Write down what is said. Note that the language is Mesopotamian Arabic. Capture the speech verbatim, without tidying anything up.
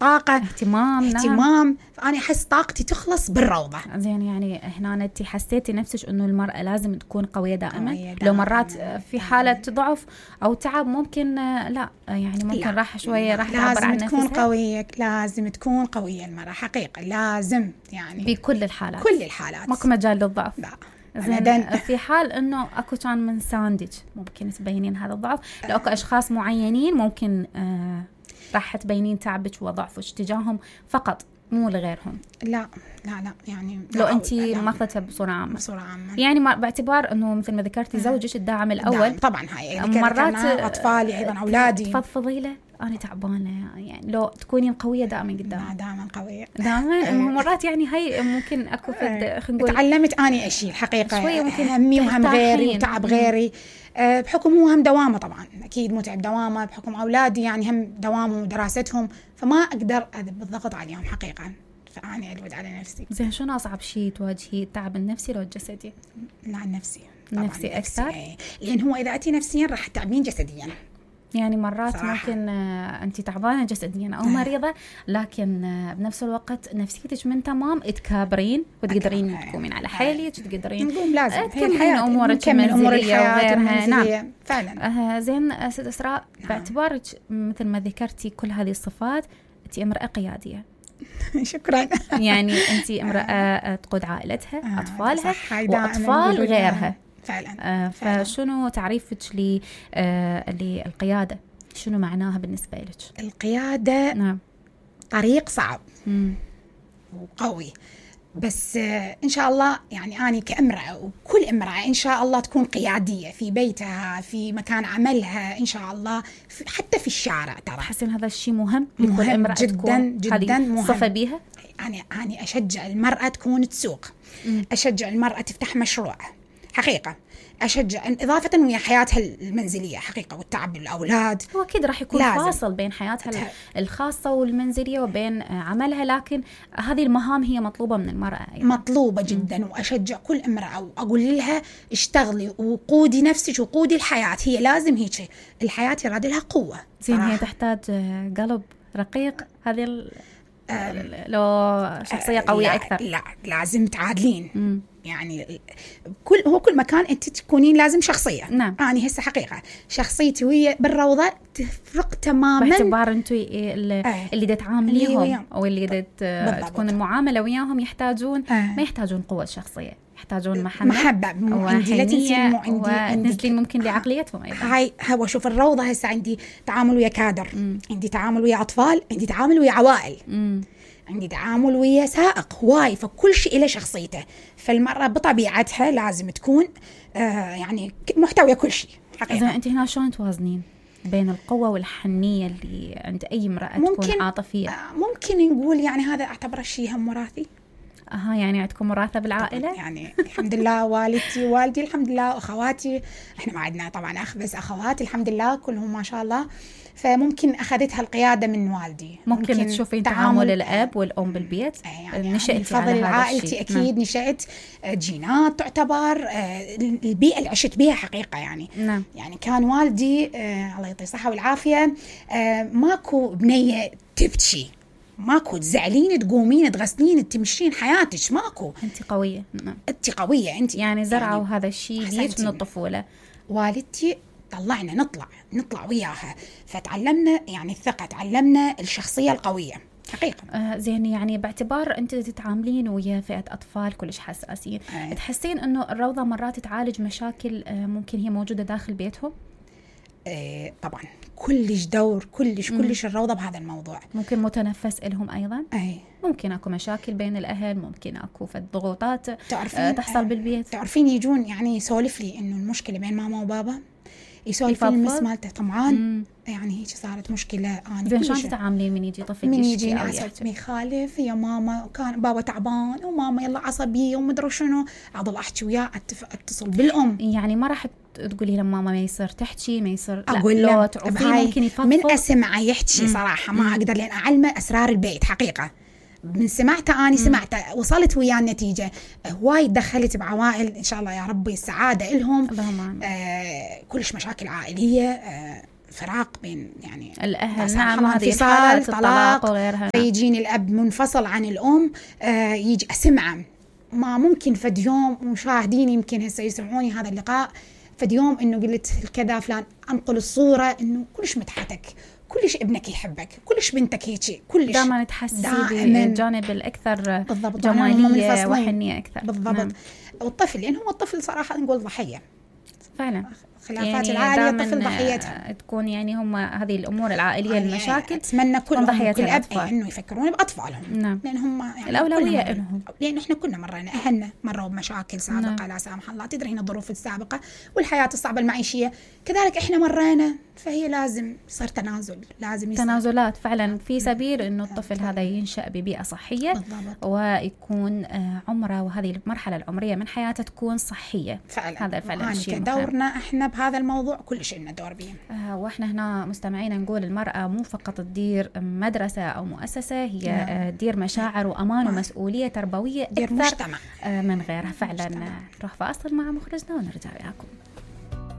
طاقة اهتمام اهتمام نعم. فأنا أحس طاقتي تخلص بالروضة. زين يعني هنا أنت حسيتي نفسك إنه المرأة لازم تكون قوية دائما؟ قوية لو مرات دائماً. في حالة ضعف أو تعب ممكن لا يعني ممكن لا. راح شوية راح تعبر عن لازم تكون نفسها. قوية، لازم تكون قوية المرأة حقيقة، لازم يعني بكل الحالات، كل الحالات ماكو مجال للضعف. لا. زين في حال انه اكو كان من ساندج ممكن تبينين هذا الضعف، لو اكو اشخاص معينين ممكن آه راح تبينين تعبك وضعفك تجاههم فقط مو لغيرهم؟ لا لا لا يعني لو انت ماخذتها بصوره عامه بصوره عامه يعني باعتبار انه مثل ما ذكرتي زوجك الداعم الاول طبعا هاي مرات اطفالي ايضا اولادي تفضفضي له انا تعبانه يعني لو تكونين قويه دائما قدام دائما قويه دائما مرات يعني هاي ممكن اكو فد خلينا نقول تعلمت اني اشيل الحقيقه شويه ممكن همي وهم غيري وتعب غيري أه بحكم هو هم دوامه طبعا اكيد متعب دوامه بحكم اولادي يعني هم دوامهم ودراستهم فما اقدر اذب الضغط عليهم حقيقه فاني الود على نفسي. زين شنو اصعب شيء تواجهي التعب النفسي لو الجسدي؟ لا النفسي نفسي اكثر ايه. لان هو اذا اتي نفسيا راح تتعبين جسديا يعني مرات صراحة. ممكن أنت تعبانة جسديا أو مريضة لكن بنفس الوقت نفسيتك من تمام تكابرين وتقدرين تقومين على حيلك تقدرين نقوم لازم تكملين أمورك المنزلية وغيرها. نعم فعلا آه زين ست إسراء نعم. باعتبارك مثل ما ذكرتي كل هذه الصفات أنت امرأة قيادية شكرا يعني أنت امرأة تقود عائلتها أطفالها وأطفال غيرها فعلا. آه فشنو تعريفك لي آه للقيادة؟ شنو معناها بالنسبة لك؟ القيادة نعم. طريق صعب مم. وقوي بس آه إن شاء الله يعني أنا كامرأة وكل امرأة إن شاء الله تكون قيادية في بيتها في مكان عملها إن شاء الله في حتى في الشارع ترى تحسين هذا الشيء مهم لكل امرأة جدا تكون جدا مهم صفة بيها؟ أنا أنا أشجع المرأة تكون تسوق مم. أشجع المرأة تفتح مشروع حقيقة أشجع إضافة ويا حياتها المنزلية حقيقة والتعب بالأولاد هو أكيد راح يكون لازم. فاصل بين حياتها الخاصة والمنزلية وبين عملها لكن هذه المهام هي مطلوبة من المرأة أيضا. مطلوبة جدا م. وأشجع كل امرأة وأقول لها اشتغلي وقودي نفسك وقودي الحياة هي لازم هيك الحياة يراد لها قوة زين هي تحتاج قلب رقيق هذه ال... آه لو شخصية قوية لا أكثر لا لازم تعادلين م. يعني كل هو كل مكان انت تكونين لازم شخصيه. نعم. انا هسه حقيقه شخصيتي ويا بالروضه تفرق تماما باعتبار انتم اللي, آه. اللي دا تعامليهم او اللي دا تكون المعامله وياهم يحتاجون آه. ما يحتاجون قوه شخصيه يحتاجون محبه محبه وحنيه وتنزلين ممكن لعقليتهم ايضا. هاي هو شوف الروضه هسه عندي تعامل ويا كادر م. عندي تعامل ويا اطفال عندي تعامل ويا عوائل م. عندي تعامل ويا سائق هواي فكل شيء له شخصيته فالمرأة بطبيعتها لازم تكون آه يعني محتوية كل شيء حقيقة. إذا أنت هنا شلون توازنين بين القوة والحنية اللي عند أي امرأة تكون عاطفية؟ آه ممكن نقول يعني هذا أعتبره شيء هم وراثي. أها يعني عندكم وراثة بالعائلة؟ يعني الحمد لله والدتي ووالدي الحمد لله وأخواتي إحنا ما عندنا طبعا أخ بس أخواتي الحمد لله كلهم ما شاء الله فممكن أخذتها القيادة من والدي. ممكن, ممكن تشوفين تعامل الأب والأم بالبيت يعني نشأت على هذا عائلتي أكيد نعم. نشأت جينات تعتبر البيئة اللي عشت بيها حقيقة يعني نعم. يعني كان والدي آه الله يعطيه الصحة والعافية آه ماكو بنية تبكي ماكو تزعلين تقومين تغسلين تمشين حياتك ماكو أنت قوية نعم. أنت قوية أنت يعني زرعوا يعني هذا الشيء بيك من الطفولة. والدتي طلعنا نطلع نطلع وياها فتعلمنا يعني الثقة تعلمنا الشخصية القوية حقيقة. آه زين يعني باعتبار أنت تتعاملين ويا فئة أطفال كلش حساسين آه. تحسين أنه الروضة مرات تعالج مشاكل آه ممكن هي موجودة داخل بيتهم؟ آه طبعا كلش دور كلش كلش الروضة بهذا الموضوع. ممكن متنفس إلهم أيضا؟ أي. ممكن أكو مشاكل بين الأهل ممكن أكو فد ضغوطات آه تحصل بالبيت. تعرفين يجون يعني يسولف لي إنه المشكلة بين ماما وبابا يسولف المس مالته طمعان يعني هيك صارت مشكلة. أنا زين شلون تتعاملين من يجي طفل من يجي عصب يخالف يا ماما وكان بابا تعبان وماما يلا عصبية ومدري شنو أضل أحكي وياه أتصل بالأم يعني ما راح تقولي لما ماما ما يصير تحكي ما يصير أقول له ممكن يفضفض من أسمع يحكي صراحة ما أقدر لأن أعلمه أسرار البيت حقيقة من سمعته أنا سمعته وصلت وياه النتيجة هواي دخلت بعوائل إن شاء الله يا ربي السعادة إلهم آه كلش مشاكل عائلية آه فراق بين يعني الأهل، نعم، هذه الحالات الطلاق وغيرها. فيجيني الأب منفصل عن الأم، آه يجي أسمعه، ما ممكن فد يوم، ومشاهدين يمكن هسه يسمعوني هذا اللقاء، فد يوم إنه قلت كذا فلان، أنقل الصورة إنه كلش مدحتك، كلش ابنك يحبك، كلش بنتك هيك، كلش دائما تحسي بالجانب الأكثر جمالية وحنية أكثر. بالضبط. نعم. والطفل يعني هو الطفل صراحة نقول ضحية فعلا، خلافات يعني العائلية الطفل ضحيتها تكون، يعني هم هذه الأمور العائلية يعني المشاكل أتمنى كل ضحية كل أب إنه يفكرون بأطفالهم. نعم. لأن هم يعني الأولوية لهم، لأن إحنا كنا مرينا أهلنا مروا بمشاكل سابقة. نعم. لا سامح الله، تدري هنا الظروف السابقة والحياة الصعبة المعيشية كذلك إحنا مرينا، فهي لازم يصير تنازل، لازم يصير تنازلات فعلا في سبيل إنه الطفل فعلا. هذا ينشأ ببيئة صحية. بالضبط. ويكون عمره وهذه المرحلة العمرية من حياته تكون صحية فعلا. هذا فعلا شيء دورنا إحنا بهذا الموضوع، كل شيء لنا دور به. آه وإحنا هنا مستمعين نقول المرأة مو فقط تدير مدرسة أو مؤسسة، هي آه دير مشاعر وأمان ومسؤولية تربوية دير مجتمع آه من غيرها. فعلا. نروح فاصل مع مخرجنا ونرجع وياكم.